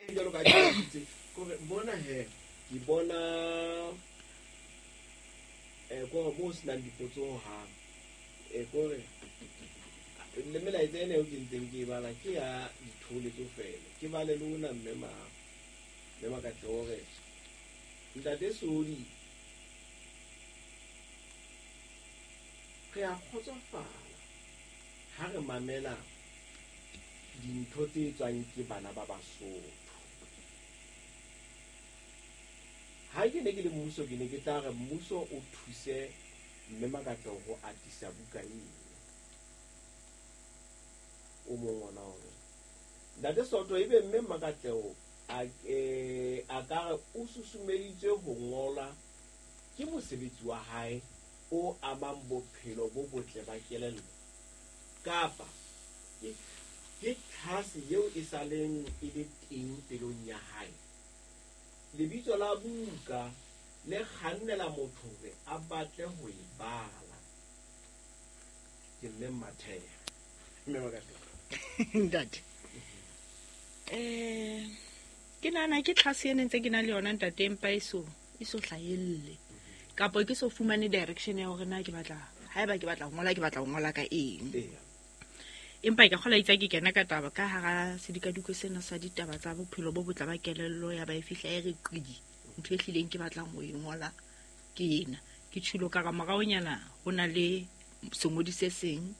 Jwalo ka ke kore mona he ke bona kore mo ho senang dipotso hohang. Kore le melaetsa ena eo ke ntseng ke e bala ke ya ditholetso feela. Ke bale le ona mme ma mme Makatleho hore ntate Sodi re a kgotsofala ha re mamela dintho tse tswang ke bana ba Basotho. Ha ke ne ke le mmuso, ke ne ke tla re mmuso o thuse mme Makatleho ho atisa buka eno. O mong ona hore ntate Soto ebe mme Makatleho a ka re o susumeditswe ho ngola ke mosebetsi wa hae o amang bophelo bo botle ba kelello, kapa ke tlhase eo e sa leng e le teng pelong ya hae. Lebitso la buka le kgannela motho hore a batle ho e bala. Ke mme Mathea. Mme Makatleho. Ntate. Ke nahana ke tlhase ene ntse ke na le yona ntate, empa e so hlahelle. Kapa ke so fumane direction ya hore na ke batla, haeba ke batla ho ngola, ke batla ho ngola ka eng. Empa ke kgola itse ke kena ka taba ka hara sedikadiko sena sa ditaba tsa bophelo bo botle ba kelello, ya ba e fihla e re qi. Ntho e hlileng ke batlang ho e ngola ke ena. Ke tjhilo ka ra moraonyana ho na le sengodi se seng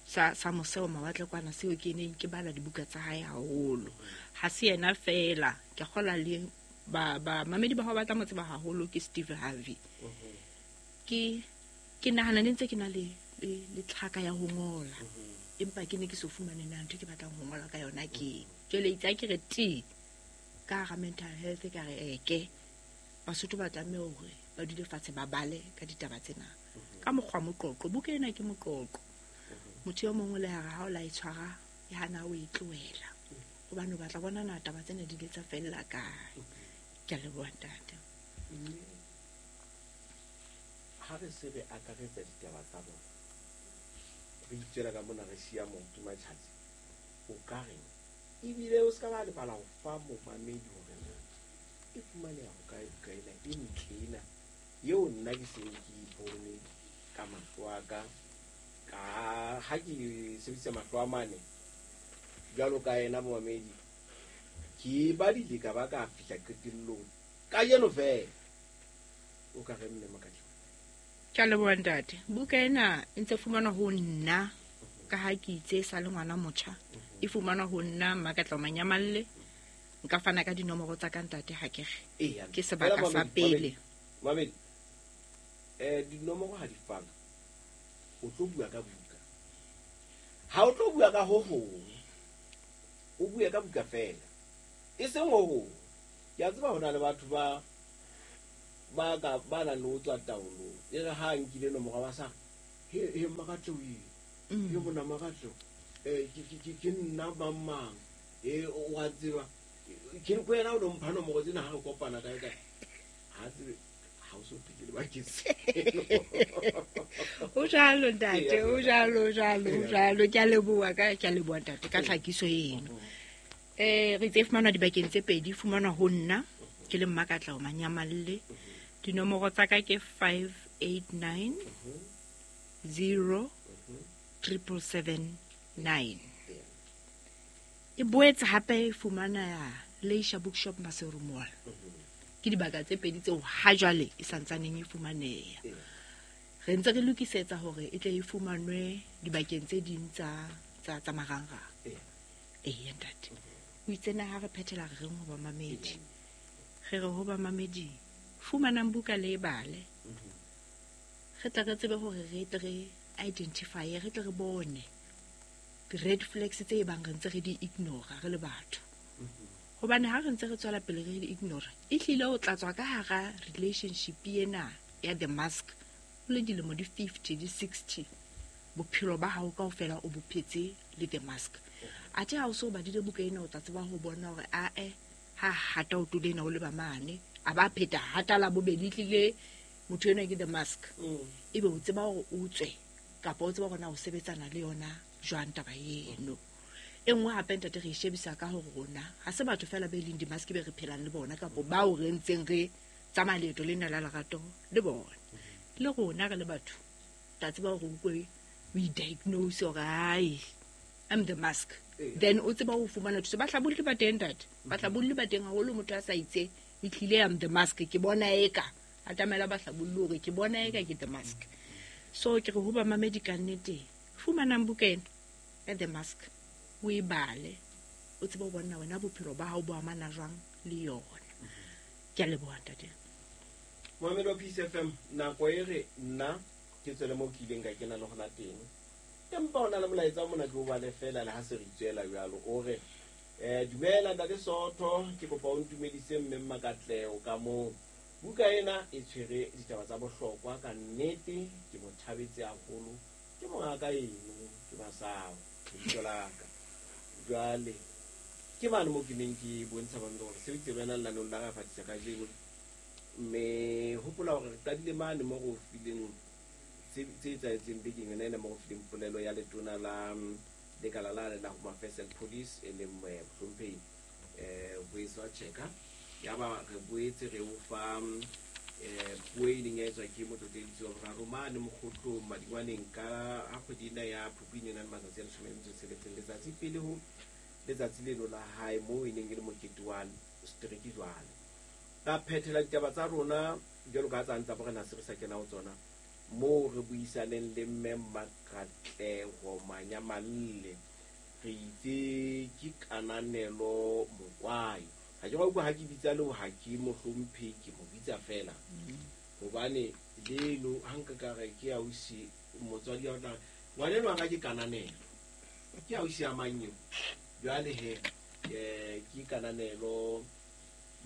sa moseo mawatle kwana seo ke neng ke bala dibuka tsa hae haholo. Ha se yena feela, ke kgola le ba mamedi ba hao ba tla mo tseba haholo ke Steve Harvey. Ke nahana ne ntse ke na le tlhaka ya ho ngola. Empa ke ne ke so fumane na ntho ke batlang ho ngola ka yona ke. Jwale itse ke re ti ka hara mental health ka re eke Basotho ba tlameha hore ba dule fatshe ba bale ka ditaba tsena. Ka mokgwa moqoqo, buka ena ke moqoqo. Motho yo mongwe le hare ha o la e tshwara e hana o e tlohela. Hobane o batla bona na taba tsena di ile tsa fella kae. Ke a leboha ntate. Ha re se re akaretsa ditaba tsa rona, re itswela ka mona re siya maoto matjhatsi, o ka reng? Ebile o ska ba lebala ho fa momamedi hore na e fumaneha ho kae buka ena e ntle ena eo nna ke seng ke bone ka mahlo a ka, ka ha ke sebedisa mahlo a mane jwalo ka yena momamedi, ke badile ka ba ka fihla qetellong kajeno fela. O ka re mme Makatleho? Ke a leboha ntate. Buka ena e ntse fumanwa ho nna ka ha ke itse sa le ngwana motjha. E fumanwa ho nna Mmakatleho Manyamalle. Nka fana ka dinomoro tsa ka ntate ha ke re. Ke sebaka sa pele. Mamedi, dinomoro ha di fana, o tlo bua ka buka. Ha o tlo bua ka ho hong, o bue ka buka fela. E seng ho hong. Ke a tseba ho na le batho ba nang le ho tswa taolong. E re ha nkile nomoro ba sa he Makatleho e. He mona Makatleho. Ke nna mang mang. O a tseba. Ke re wena o no mpha nomoro tsena ha re kopana kae kae. Ha tsebe ha o so phele bakeng seno. O jwalo ntate, o jwalo, jwalo. Ke a leboha ka, ke a leboha ntate ka tlhakiso eno. Re itse fumanwa dibakeng tse pedi, fumanwa ho nna ke le Mmakatleho Manyamalle. Dinomoro tsa ka ke 589 0 777 9. E boetse hape e fumana Leisure Bookshop Maseru Mall. Ke dibaka tse pedi tseo ha jwale e santsaneng e fumaneha. Re ntse re lokisetsa hore e tle e fumanwe dibakeng tse ding tsa marangrang. Eya ntate. O itse na ha re phethela re reng ho bamamedi? Re re ho bamamedi, fumanang buka le e bale. Re tle re tsebe hore re tle re identify, re tle re bone di-red flags tse bang re ntse re di ignore re le batho. Hobane ha re ntse re tswela pele re di ignore, e hlile o tla tswa ka hara relationship ena ya the mask o le dilemo di 50, di 60, bophelo ba hao kaofela o bo phetse le the mask. Athe ha o so badile buka ena, o tla tseba ho bona hore ae ha hata o tole ena o leba mane, a ba pheta hata la bobedi tlile motho enwa ke the mask. Ebe o tseba hore o tswe kapa o tseba hore na o sebetsana le yona jwang taba eno. E nngwe hape ntate re e shebisa ka hore rona ha se batho fela be leng dimaske be re phelang le bona kapa bao re ntseng re tsamaya leeto lena la lerato le bona. Le rona re le batho tla tseba hore o utlwe o i-diagnose hore ai I'm the mask. Then o tseba ho fumana thuso. Bahlabolli ba teng ntate, bahlabolli ba teng haholo. Motho a sa itse ehlile I'm the mask, ke bona eka atamela bahlabolli hore ke bona eka ke the mask. So ke re ho bamamedi ka nnete, fumanang buka ena ya The Mask, o e bale, o tsebe ho bona wena bophelo ba hao bo amana jwang le yona. Ke a leboha ntate. Mohammed wa Peace FM, nako e re nna ke tswele moo ke ileng ka kena le gona teng, empa o na le molaetsa o mona ke o bale fela le ha se re itswela jwalo. O re dumela ntate Sootho, ke kopa o ntumedise mme Mmakatleho ka moo. Buka ena e tshwere ditaba tsa bohlokwa ka nnete, ke mo thabetse haholo, ke mongaka eno, ke Masao lebitso la ka. Jwale ke mane moo ke neng ke bontsha bamedi hore sebetsi re wena lenaneong la re fatisa kajeno, mme hopola hore re qadile mane mo re o fileng tse etsahetseng bekeng yona ena, mo re fileng polelo ya letona la lekala la le la Home Affairs and Police e leng mohlomphehi Boetswa Cheka. Yaba re boetse re o fa puo e ileng ya etswa ke motlotleletsi wa boraro mane Mokgotlong Madingwaneng ka ha kgwedi ena ya Phupjane e nang le matsatsi a 16, letsatsi pele ho letsatsi leno la hae moo e neng e le mokete wa setereke. Jwale ra phethela ditaba tsa rona jwalo ka tsa ntsa borena se re sa kena ho tsona, moo re buisaneng le mme Mmakatleho Manyamalle, re itse ke Kananelo Mokwai. Ha ke utlwa ha ke bitsa leo, ha ke mohlomphe, ke mo bitsa fela hobane leno ha nka ka re ke ausi motswadi wa tla ngwaneno wa ka ke Kananelo, ke ausi ya mang eo. Jwale he ke Kananelo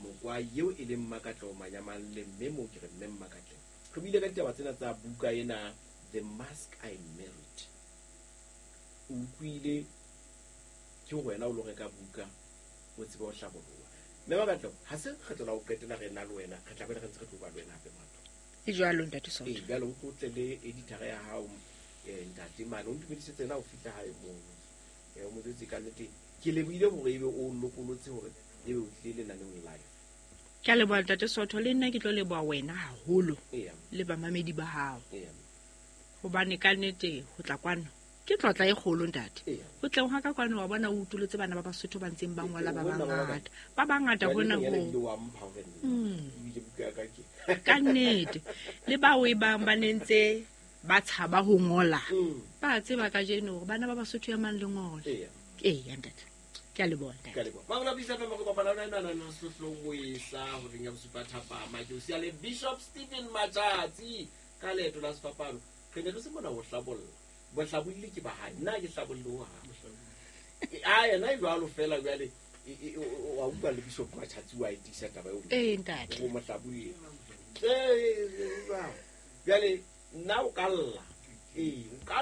Mokwai eo e leng Mmakatleho Manyamalle, mme moo ke re mme Mmakatleho. Re buile ka ditaba tsena tsa buka ena The Mask I Married. O utlwile ke wena o lo reka buka o tsebe ho hlaboloha. Mme Mmakatleho, ha se kgetlo la ho qetela re na le wena, re tla be re ntse re tlo ba le wena hape motho. E jwalo ntate Sootho. Ee, jwale o tlo tle le editor ya hao ntate mane, o ntumedisetse ena o fihla hae mono. O mo jwetse ka nnete, ke lebohile hore ebe o lokolotse hore ebe o tlile lenaneong live. Ke a leboha ntate Sootho, le nna ke tlo leboha wena haholo le bamamedi ba hao. Hobane ka nnete ho tla kwano ke tlotla e kgolo ntate. Ho tleng ha ka kwano wa bona o utolotse bana ba Basotho ba ntseng ba ngola ba bangata. Ba bangata hona ho. Ka nnete le bao e bang ba nentse ba tshaba ho ngola. Ba tseba kajeno hore bana ba Basotho ya mang le ngola. Ee ntate. Ke a leboha ntate. Ke a leboha. Ba bona Peace FM re kopana le wena nana sehlohlong o e sa horeng ya bosupa thapama. Ke o siya le Bishop Stephen Matjatsi ka leeto la sefapano. Re ne re se mona ho hlabolla. Bohlabolli ke ba hae, nna ke hlabolle ho hang. A yena e jwalo fela jwale wa utlwa le Bishop Matjatsi wa e tiisa taba eo. Ee ntate. O mohlabolli. Jwale nna o ka lla. Ee, o ka